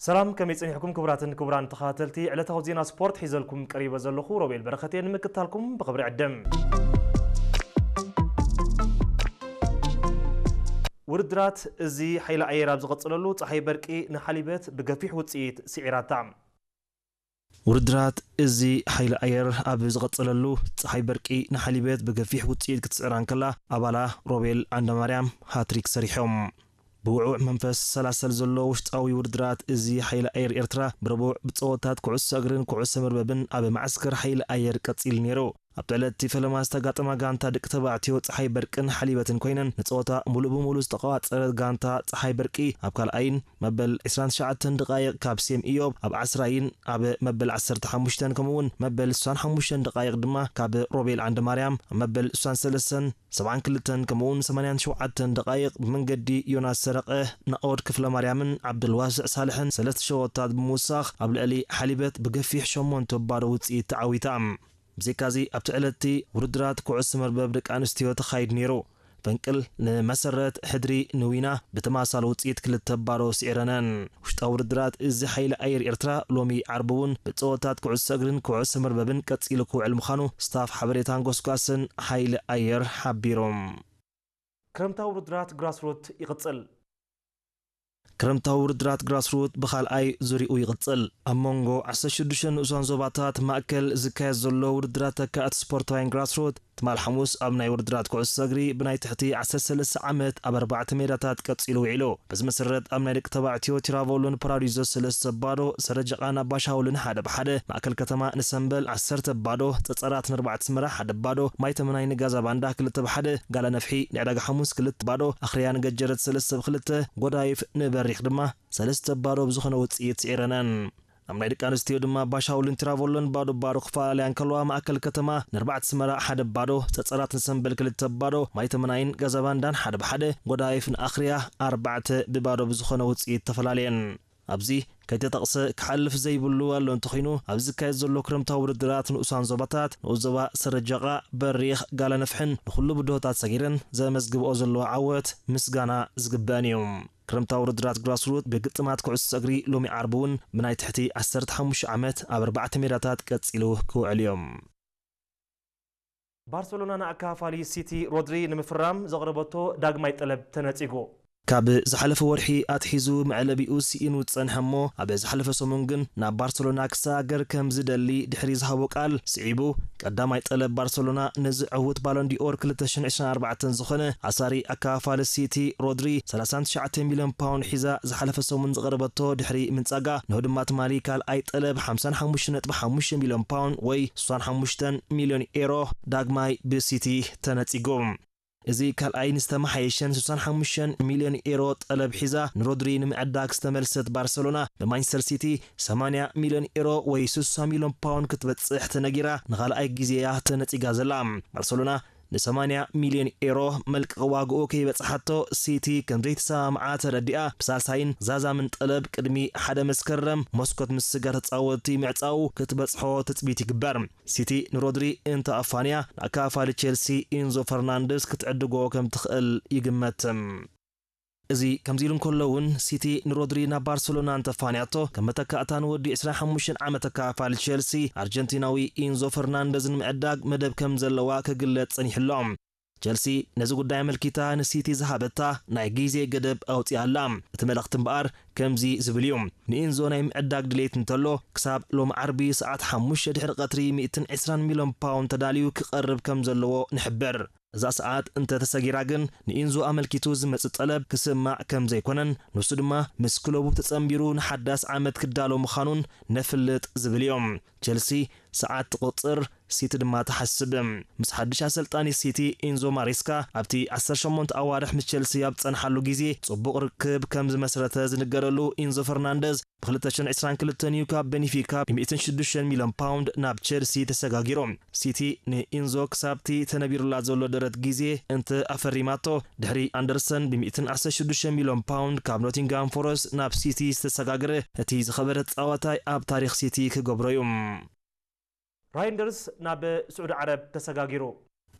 ሰላም፣ ከመይ ጸኒሕኩም ክቡራትን ክቡራን ተኸታተልቲ ዕለታዊ ዜና ስፖርት? ሒዘልኩም ቀሪበ ዘለኹ ሮቤል በረኸት እየ። ንምክትታልኩም ብኽብሪ ዕድም። ውድድራት እዚ ሓይሊ ኣየር ኣብ ዝቐጸለሉ፣ ጸሓይ በርቂ ንሓሊበት ብገፊሕ ውጽኢት ስዒራታ። ውድድራት እዚ ሓይሊ ኣየር ኣብ ዝቐጸለሉ፣ ጸሓይ በርቂ ንሓሊበት ብገፊሕ ውጽኢት ክትስዕራ እንከላ፣ ኣባላ ሮቤል ዓንደማርያም ሃትሪክ ሰሪሖም። ብውዑዕ መንፈስ ሰላሰል ዘሎ ውሽጣዊ ውድድራት እዚ ሓይሊ ኣየር ኤርትራ ብረቡዕ ብጸወታት ኩዕሶ እግርን ኩዕሶ መርበብን ኣብ መዓስከር ሓይሊ ኣየር ቀጺሉ ነይሩ። ኣብቲ ዕለት እቲ ፈለማ ዝተጋጠማ ጋንታ ደቂ ተባዕትዮ ጸሓይ በርቅን ሓሊበትን ኮይነን፣ ንጸወታ ሙሉእ ብሙሉእ ዝተቋጸረት ጋንታ ጸሓይ በርቂ ኣብ ካልኣይን መበል ዕስራን ትሽዓተን ደቃይቕ ካብ ሴም ኢዮብ ኣብ ዓስራይን ኣብ መበል ዓሰርተ ሓሙሽተን ከምኡ'ውን መበል ስሳን ሓሙሽተን ደቃይቕ ድማ ካብ ሮቤል ዓንደማርያም ኣብ መበል ስሳን ሰለስተን ሰብዓን ክልተን ከምኡ'ውን ሰማንያን ሸውዓተን ደቃይቕ ብመንገዲ ዮናስ ሰረቐ፣ ናኦድ ክፍለማርያምን ዓብዱልዋስዕ ሳልሕን ሰለስተ ሸወታት ብምውሳኽ ኣብ ልዕሊ ሓሊበት ብገፊሕ ሸሞንተ ባዶ ውጽኢት ተዓዊታ። ብዘይካዚ ኣብቲ ዕለት'ቲ ውድድራት ኩዕሶ መርበብ ደቂ ኣንስትዮ ተኻይዱ ነይሩ። ፈንቅል ንመሰረት፣ ሕድሪ ንዊና ብተማሳሊ ውጽኢት ክልተ ባዶ ስዒረነን። ውሽጣዊ ውድድራት እዚ ሓይሊ ኣየር ኤርትራ ሎሚ ዓርቢ እውን ብጸወታት ኩዕሶ እግርን ኩዕሶ መርበብን ቀጺሉ ክውዕል ምዃኑ ስታፍ ሓበሬታን ጎስጓስን ሓይሊ ኣየር ሓቢሮም። ክረምታዊ ውድድራት ግራስሩት ይቕጽል። ክረምታዊ ውድድራት ግራስሩት ብኻልኣይ ዙሪኡ ይቕጽል። ኣብ መንጎ ዓሰርተ ሽዱሽተ ንኡሳን ዞባታት ማእከል ዝካየድ ዘሎ ውድድራት ተካእቲ ስፖርታውያን ግራስሩት ትማል ሓሙስ ኣብ ናይ ውድድራት ኩዕሶ እግሪ ብናይ ትሕቲ ዓሰርተ ሰለስተ ዓመት ኣብ ኣርባዕተ ሜዳታት ቀጺሉ ውዒሉ። በዚ መሰረት ኣብ ናይ ደቂ ተባዕትዮ ቲራቮሎን ፓራዲዞ ሰለስተ ባዶ፣ ሰረጀቓን ኣባሻውልን ሓደ ብሓደ፣ ማእከል ከተማ ንሰምበል ዓሰርተ ባዶ፣ ጸጸራት ንኣርባዕተ ኣስመራ ሓደ ባዶ፣ ማይ ተመናይ ንጋዛ ባንዳ ክልተ ብሓደ፣ ጋላ ነፍሒ ንዕዳጋ ሓሙስ ክልተ ባዶ፣ ኣኽርያ ንገጀረት ሰለስተ ብክልተ፣ ጎዳይፍ ንበሪኽ ድማ ሰለስተ ባዶ ብዝኾነ ውጽኢት ስዒረነን። ኣብ ናይ ደቂ ኣንስትዮ ድማ ባሻውልን ቲራቮሎን ባዶ ባዶ ክፈላለያ እንከለዋ፣ ማእከል ከተማ ንኣርባዕተ ኣስመራ ሓደ ባዶ፣ ጸጸራት ንሰምበል ክልተ ባዶ፣ ማይ ተመናይን ጋዛ ባንዳን ሓደ ብሓደ፣ ጎዳይፍ ንኣኽርያ ኣርባዕተ ብባዶ ብዝኾነ ውጽኢት ተፈላለየን። ኣብዚ ከይተጠቕሰ ክሓልፍ ዘይብሉ ኣሎ እንተኾይኑ፣ ኣብዚ ዝካየድ ዘሎ ክረምታዊ ውድድራት ንኡሳን ዞባታት፣ ንኡስ ዞባ ሰረጀቓ፣ በሪኽ፣ ጋላ ነፍሕን ንኹሉ ብድሆታት ሰጊረን ዘመዝግብኦ ዘለዋ ዓወት ምስጋና ዝግበአን እዩ። ክረምታዊ ውድድራት ግራስሩት ብግጥማት ኩዕሶ እግሪ ሎሚ ዓርቢ እውን ብናይ ትሕቲ ዓሰርተ ሓሙሽተ ዓመት ኣብ ኣርባዕተ ሜዳታት ቀጺሉ ክውዕል እዮም። ባርሰሎና ንኣካፋሊ ሲቲ ሮድሪ ንምፍራም ዘቕረበቶ ዳግማይ ጠለብ ተነጺጉ። ካብ ዝሓለፈ ወርሒ ኣትሒዙ መዕለቢኡ ስኢኑ ዝጸንሐ እሞ፣ ኣብ ዝሓለፈ ሰሙን ግን ናብ ባርሰሎና ክሰጋገር ከም ዝደሊ ድሕሪ ዝሃቦ ቃል ስዒቡ፣ ቀዳማይ ጠለብ ባርሰሎና ነዚ ዕዉት ባሎን ዲኦር ክልተ ሽሕን ዕስራን ኣርባዕተን ዝኾነ ኣሳሪ ኣካፋሊ ሲቲ ሮድሪ ሰላሳን ትሽዓተ ሚልዮን ፓውንድ ሒዛ ዝሓለፈ ሰሙን ዝቐረበቶ ድሕሪ ምንጻጋ፣ ንሆ ድማ ትማሊ ካልኣይ ጠለብ ሓምሳን ሓሙሽተ ነጥቢ ሓሙሽተ ሚልዮን ፓውንድ ወይ ስሳን ሓሙሽተን ሚልዮን ኤሮ ዳግማይ ብሲቲ ተነጺጉ። እዚ ካልኣይን ዝተመሓየሸን ስሳን ሓሙሽተን ሚልዮን ኤሮ ጠለብ ሒዛ ንሮድሪ ንምዕዳግ ዝተመልሰት ባርሰሎና፣ ብማንቸስተር ሲቲ ሰማንያ ሚልዮን ኤሮ ወይ ስሳ ሚልዮን ፓውንድ ክትበጽሕ ተነጊራ ንኻልኣይ ግዜ'ያ ተነጺጋ ዘላ። ባርሰሎና ንሰማንያ ሚልዮን ኤሮ መልቀቕ ዋግኡ ከይበጽሓቶ ሲቲ ከም ዘይተሰማምዓ ተረዲኣ፣ ብሳልሳይን ዛዛምን ጠለብ ቅድሚ ሓደ መስከረም መስኮት ምስጋር ተጻወትቲ ምዕጻው ክትበጽሖ ትጽቢት ይግበር። ሲቲ ንሮድሪ እንተ ኣፋንያ፣ ንኣካፋሊ ቸልሲ ኢንዞ ፈርናንደስ ክትዕድጎ ከም ትኽእል ይግመት። እዚ ከምዚ ኢሉ እንከሎ እውን፣ ሲቲ ንሮድሪ ናብ ባርሰሎና እንተፋንያቶ፣ ከም መተካእታ ንወዲ ዕስራን ሓሙሽተን ዓመት ኣካፋሊ ቸልሲ ኣርጀንቲናዊ ኢንዞ ፈርናንደዝ ንምዕዳግ መደብ ከም ዘለዋ ክግለጽ ጸኒሑ ኣሎ። ቸልሲ ነዚ ጉዳይ ኣመልኪታ ንሲቲ ዝሃበታ ናይ ግዜ ገደብ ኣውጺኣ ኣላ። እቲ መልእኽቲ እምበኣር ከምዚ ዝብል እዩ። ንኢንዞ ናይ ምዕዳግ ድሌት እንተሎ፣ ክሳብ ሎሚ ዓርቢ ሰዓት ሓሙሽተ ድሕሪ ቀትሪ ሚእትን ዕስራን ሚልዮን ፓውንድ ተዳልዩ ክቐርብ ከም ዘለዎ ንሕብር። እዛ ሰዓት እንተ ተሰጊራ ግን፣ ንኢንዞ ኣመልኪቱ ዝመጽእ ጠለብ ክስማዕ ከም ዘይኮነን፣ ንሱ ድማ ምስ ክለቡ ተጸንቢሩ ንሓዳስ ዓመት ክዳሎ ምዃኑን ነፍልጥ ዝብል እዮም። ቸልሲ ሰዓት ትቑጽር፣ ሲቲ ድማ ትሓስብ። ምስ ሓድሽ ኣሰልጣኒ ሲቲ ኢንዞ ማሬስካ ኣብቲ ዓሰርተ ሸሞንተ ኣዋርሕ ምስ ቸልሲ ኣብ ዝጸንሓሉ ግዜ ጽቡቕ ርክብ ከም ዝመስረተ ዝንገረሉ ኢንዞ ፈርናንደዝ፣ ብክልተ ሽሕን ዕስራን ክልተን እዩ ካብ ቤኒፊካ ብሚእትን ሽዱሽተን ሚልዮን ፓውንድ ናብ ቸልሲ ተሰጋጊሩ። ሲቲ ንኢንዞ ክሳብቲ ተነቢሩላ ዘሎ ደረት ግዜ እንተ ኣፈሪማቶ፣ ድሕሪ ኣንደርሰን ብሚእትን ዓሰርተ ሽዱሽተ ሚልዮን ፓውንድ ካብ ኖቲንግሃም ፎረስት ናብ ሲቲ ዝተሰጋገረ እቲ ዝኸበረ ተጻዋታይ ኣብ ታሪኽ ሲቲ ክገብሮ እዩ። ራይንደርስ ናብ ስዑዲ ዓረብ ተሰጋጊሩ።